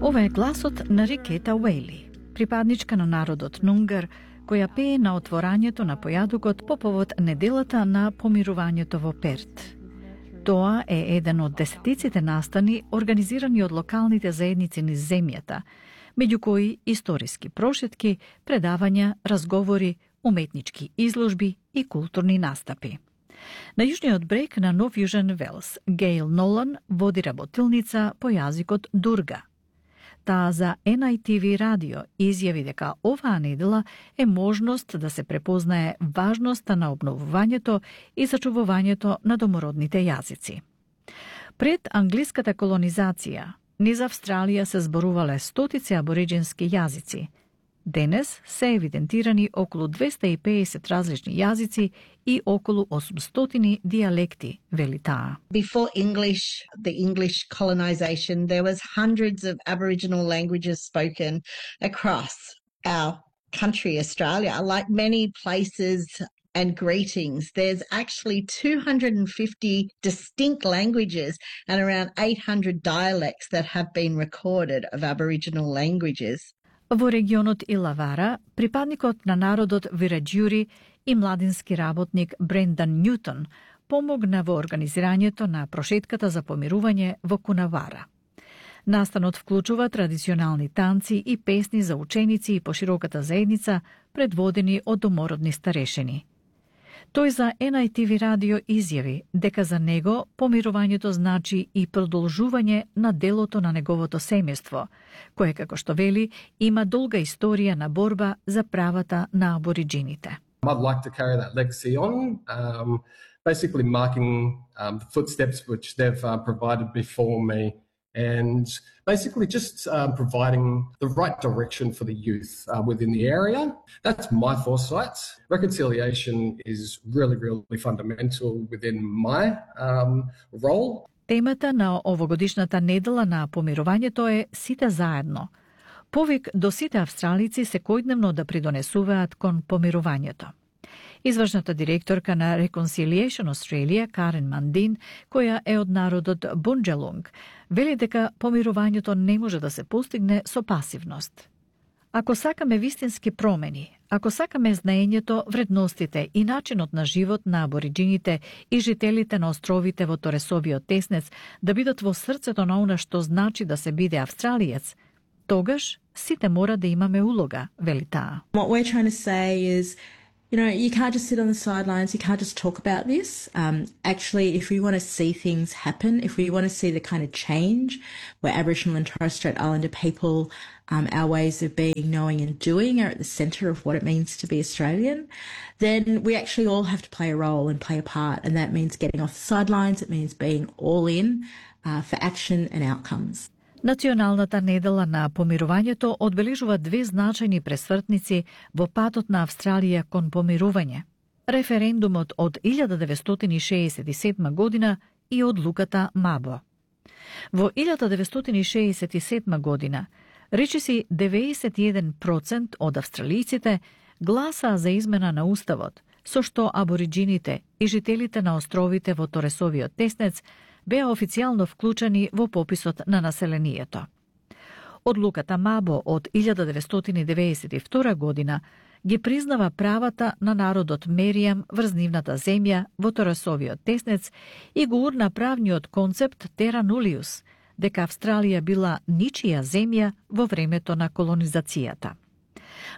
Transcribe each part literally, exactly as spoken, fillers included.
Ова е гласот на Рикета Уейли, припадничка на народот Нунгар, која пее на отворањето на појадокот по повод неделата на помирувањето во Перт. Тоа е еден од десетиците настани организирани од локалните заедници низ земјата, меѓу кои историски прошетки, предавања, разговори, уметнички изложби и културни настапи. На јужниот брег на Нов Јужен Велс, Гейл Нолан води работилница по јазикот Дурга. Таа за Ен Ај Ти Ви радио изјави дека оваа недела е можност да се препознае важноста на обновувањето и зачувувањето на домородните јазици. Пред англиската колонизација, низ Австралија се зборувале стотици абориџински јазици. Денес се евидентирани околу двесте и педесет различни јазици и околу осумстотини дијалекти, вели таа. Before English, the English colonization, there was hundreds of Aboriginal languages spoken across our country, Australia. Like many places and greetings, there's actually two hundred fifty distinct languages and around eight hundred dialects that have been recorded of Aboriginal languages. Во регионот Илавара, припадникот на народот Вираџјури и младински работник Брендан Њутон помогна во организирањето на прошетката за помирување во Кунавара. Настанот вклучува традиционални танци и песни за ученици и пошироката заедница, предводени од домородни старешини. Тој за Ен Ај Ти Ви радио изјави дека за него помирувањето значи и продолжување на делото на неговото семејство, кое, како што вели, има долга историја на борба за правата на абориџините. I'd like to carry that legacy on, um, basically marking um, the footsteps which they've uh, provided before me, and basically just um, providing the right direction for the youth uh, within the area. That's my foresight. Reconciliation is really, really fundamental within my um, role. Темата на овогодишната недела на помирувањето е сите заедно. Повик до сите австралици секојдневно да придонесуваат кон помирувањето. Извршната директорка на Reconciliation Australia, Карен Мандин, која е од народот Бунџалунг, вели дека помирувањето не може да се постигне со пасивност. Ако сакаме вистински промени, ако сакаме знаењето, вредностите и начинот на живот на абориџините и жителите на островите во Торесовиот теснец да бидат во срцето на она што значи да се биде австралиец, тогаш сите мора да имаме улога, вели таа. What we're trying to say is, you know, you can't just sit on the sidelines, you can't just talk about this. Um, actually, if we want to see things happen, if we want to see the kind of change where Aboriginal and Torres Strait Islander people, um, our ways of being, knowing and doing are at the centre of what it means to be Australian, then we actually all have to play a role and play a part. And that means getting off the sidelines, it means being all in uh, for action and outcomes. Националната недела на помирувањето одбележува две значајни пресвртници во патот на Австралија кон помирување. Референдумот од илјада деветстотини шеесет и седма година и одлуката Мабо. Во илјада деветстотини шеесет и седма година, речиси деветдесет и еден проценти од австралијците гласаа за измена на уставот, со што абориџините и жителите на островите во Торесовиот теснец беа официјално вклучени во пописот на населението. Одлуката Мабо од илјада деветстотини деветдесет и втора година ги признава правата на народот Меријам врз нивната земја во Торесовиот теснец и го урна правниот концепт Тера Нулиус, дека Австралија била ничија земја во времето на колонизацијата.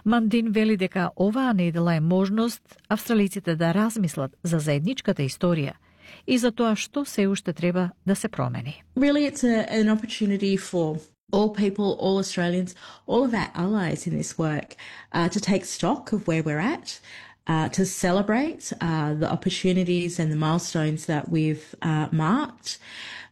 Мандин вели дека оваа недела е можност австралиците да размислат за заедничката историја и за тоа што се уште треба да се промени. Really, it's a, an opportunity for all people, all Australians, all of our allies in this work uh, to take stock of where we're at, uh, to celebrate uh, the opportunities and the milestones that we've uh, marked.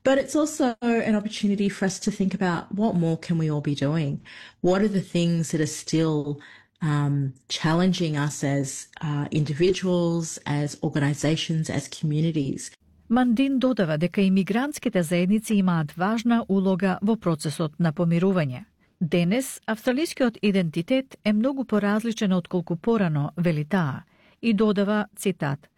But it's also an opportunity for us to think about what more can we all be doing? What are the things that are still um, challenging us as uh, individuals, as organisations, as communities? Мандин додава дека имигрантските заедници имаат важна улога во процесот на помирување. Денес, австралискиот идентитет е многу поразличен од колку порано, вели таа, и додава, цитат,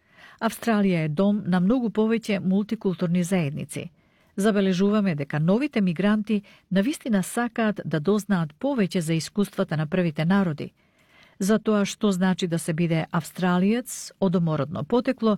Австралија е дом на многу повеќе мултикултурни заедници. Забележуваме дека новите мигранти навистина сакаат да дознаат повеќе за искуствата на првите народи, за тоа што значи да се биде австралиец од домородно потекло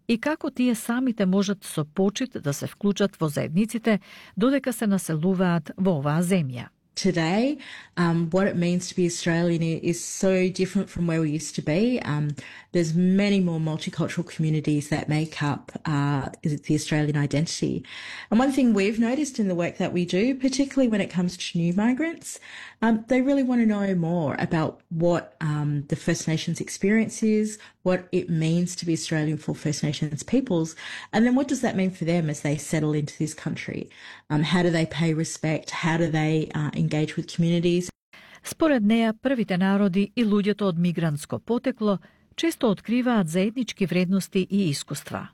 и како тие самите можат со почит да се вклучат во заедниците додека се населуваат во оваа земја. Today, um, what it means to be Australian is so different from where we used to be. Um, there's many more multicultural communities that make up uh, the Australian identity. And one thing we've noticed in the work that we do, particularly when it comes to new migrants, um, they really want to know more about what um, the First Nations experience is, what it means to be Australian for First Nations peoples, and then what does that mean for them as they settle into this country? Um, how do they pay respect? How do they uh, engage with communities? Според неа, првите народи и луѓето од мигрантско потекло често откриваат заеднички вредности и искуства.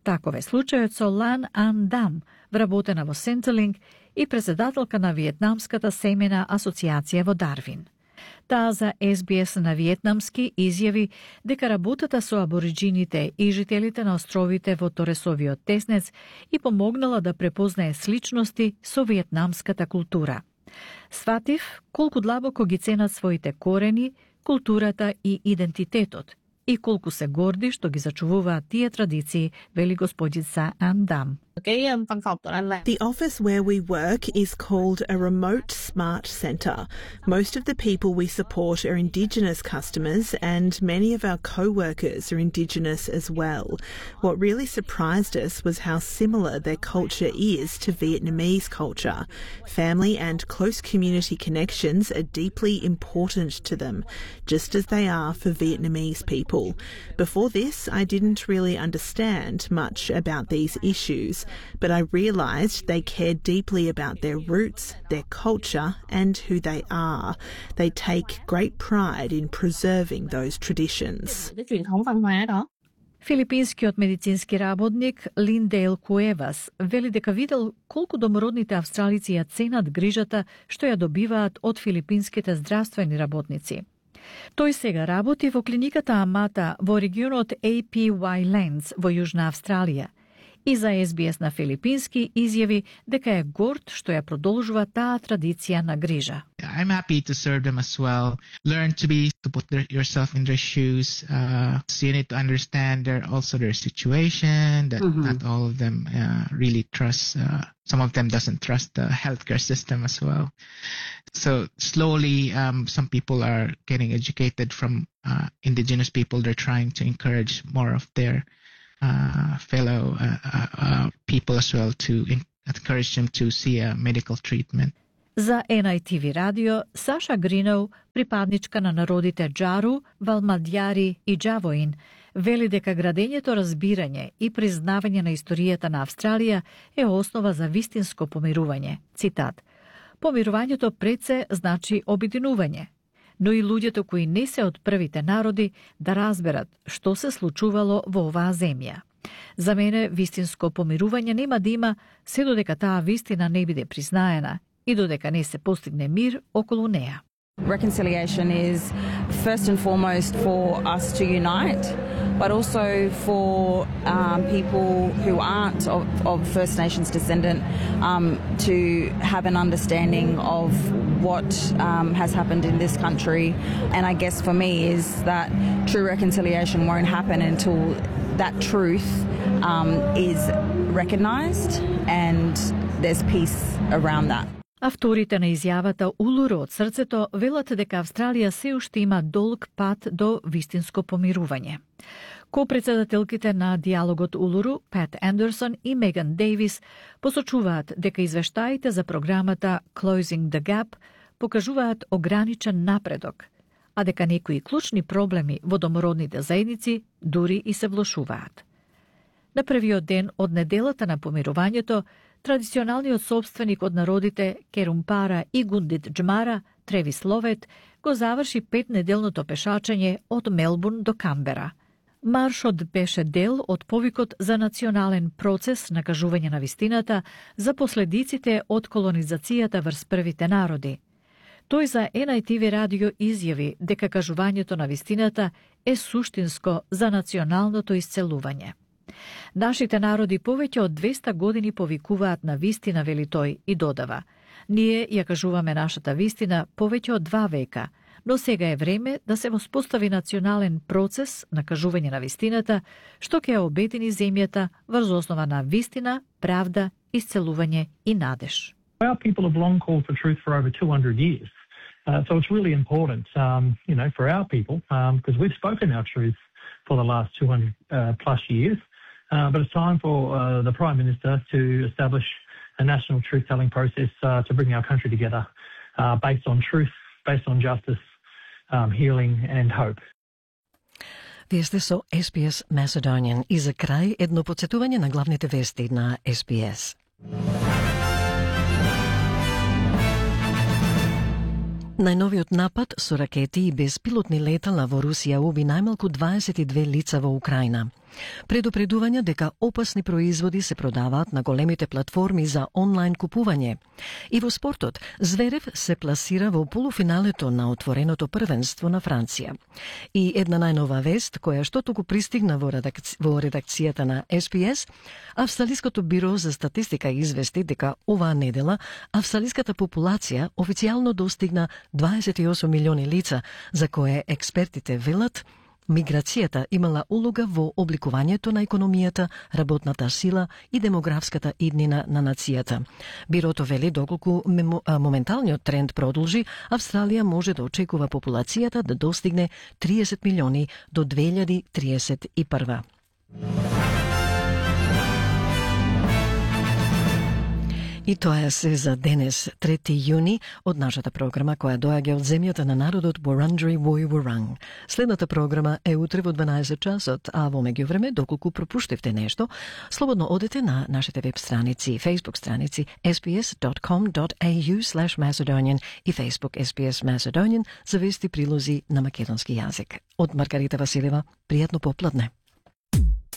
Таков е случајот со Lan An Dam, вработена во Centrelink и председателка на Виетнамската семена асоциација во Дарвин. Таа за Ес Би Ес на виетнамски изјави дека работата со абориджините и жителите на островите во Торесовиот теснец и помогнала да препознае сличности со виетнамската култура. Сватив колку длабоко ги ценат своите корени, културата и идентитетот и колку се горди што ги зачувуваат тие традиции, вели господица An Dam. The office where we work is called a remote smart centre. Most of the people we support are Indigenous customers and many of our co-workers are Indigenous as well. What really surprised us was how similar their culture is to Vietnamese culture. Family and close community connections are deeply important to them, just as they are for Vietnamese people. Before this, I didn't really understand much about these issues, but I realised they care deeply about their roots, their culture and who they are. They take great pride in preserving those traditions. Филипинскиот медицински работник Линдейл Куевас вели дека видел колку домородните австралици ја ценат грижата што ја добиваат од филипинските здравствени работници. Тој сега работи во клиниката Амата во регионот Ей Пи Уај Lands во Јужна Австралија и за Ес Би Ес на филипински изјави дека е горд што ја продолжува таа традиција на грижа. I'm happy to serve them as well. Learn to be, to put their, yourself in their shoes. Uh, so you need to understand their, also their situation, that mm-hmm. not all of them uh, really trust, uh, some of them doesn't trust the healthcare system as well. So slowly, um, some people are getting educated from uh, Indigenous people. They're trying to encourage more of their uh, fellow uh, uh, people as well to encourage them to see a medical treatment. За Ен Ај Ти Ви радио, Саша Гриноу, припадничка на народите Джару, Валмадјари и Джавоин, вели дека градењето разбирање и признавање на историјата на Австралија е основа за вистинско помирување. Цитат: Помирувањето пред се значи обединување, но и луѓето кои не се од првите народи да разберат што се случувало во оваа земја. За мене вистинско помирување нема да има се додека таа вистина не биде признаена и додека не се постигне мир околу неа. Reconciliation is first and foremost for us to unite, but also for um, people who aren't of, of First Nations descendant um, to have an understanding of what um, has happened in this country. And I guess for me is that true reconciliation won't happen until that truth um, is recognised and there's peace around that. Авторите на изјавата Улуру од срцето велат дека Австралија се уште има долг пат до вистинско помирување. Ко-председателките на диалогот Улуру, Пат Андерсон и Меган Дейвис, посочуваат дека извештаите за програмата Closing the Gap покажуваат ограничен напредок, а дека некои клучни проблеми во домородните заедници дури и се влошуваат. На првиот ден од неделата на помирувањето, традиционалниот собственик од народите Керумпара и Гундит Джмара, Тревис Ловет, го заврши петнеделното пешачење од Мелбурн до Камбера. Маршот беше дел од повикот за национален процес на кажување на вистината за последиците од колонизацијата врз првите народи. Тој за Ен Ај Ти Ви радио изјави дека кажувањето на вистината е суштинско за националното исцелување. Нашите народи повеќе од двеста години повикуваат на вистина, вели тој, и додава: ние ја кажуваме нашата вистина повеќе од два века, но сега е време да се воспостави национален процес на кажување на вистината, што ќе ја обедини земјата врз основа на вистина, правда, исцелување и надеж. Our people have long called for truth for over two hundred years. Uh, so it's really important, um, you know, for our people, because um, we've spoken our truth for the last two hundred uh, plus years. Uh, but it's time for uh, the Prime Minister to establish a national truth-telling process uh, to bring our country together uh, based on truth, based on justice, um, healing and hope. Вие сте со Ес Би Ес Macedonian и за крај едно подсетување на главните вести на Ес Би Ес. Најновиот напад со ракети и безпилотни летала во Русија уби најмалку дваесет и две лица во Украина. Предупредувања дека опасни производи се продаваат на големите платформи за онлайн купување. И во спортот, Зверев се пласира во полуфиналето на отвореното првенство на Франција. И една најнова вест, која што туку пристигна во, редакци... во редакцијата на Ес Би Ес, Австралиското биро за статистика извести дека оваа недела австралиската популација официјално достигна дваесет и осум милиони лица, за кое експертите велат миграцијата имала улога во обликувањето на економијата, работната сила и демографската иднина на нацијата. Бирото вели доколку моменталниот тренд продолжи, Австралија може да очекува популацијата да достигне триесет милиони до две илјади триесет и прва. И тоа е се за денес, трети јуни, од нашата програма која доаѓа од земјата на народот Wurundjeri Woi Wurrung. Следната програма е утре во дванаесет часот, а во меѓувреме, доколку пропуштивте нешто, слободно одете на нашите веб страници, Facebook страници ес би ес dot com dot a u slash macedonian и Facebook Ес Би Ес Macedonian за вести прилози на македонски јазик. Од Маргарита Василева, пријатно попладне.